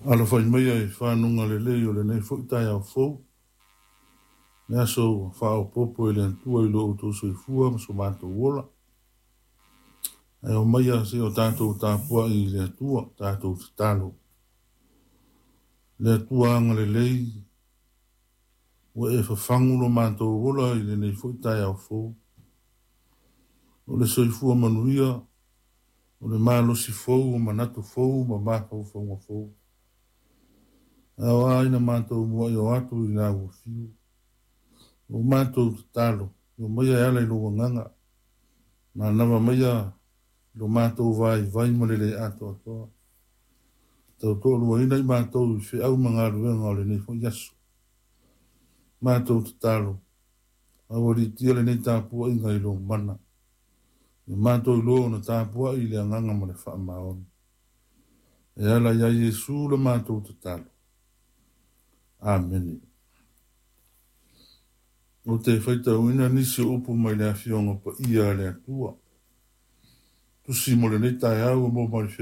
Alafai maia i fanuga lelei o lenei foi taeao fou, le aso ua faaopoopo e le Atua i lo outou soifua ma so matou ola. Ae omaia seia o tatou tapuai i le Atua, tatou tatalo. Le Atua agalelei, ua e fafagu lo matou ola i lenei foi taeao fou. O le soifua manuia, o le malosi fou, o manatu fou ma mafaufauga fou. Ae o a ina matou muai o atu i la ua fiu. O matou tatalo, omaia e ala i lou agaga, manava maia i lo matou vaivai ma le le atoatoa. Tautoaluaina i matou i feau ma galuega o lenei foi aso. Matou tatalo, aualiitia lenei tapuaiga i lou mana. Ia matou iloa ona tapuai i le agaga ma le faamaoni. E ala ia Iesu le matou tatalo. Amene. Ou te faitauina nisi o upu mai le Afioga Paia a le Atua. Tusi mo lenei taeao ua maua mai le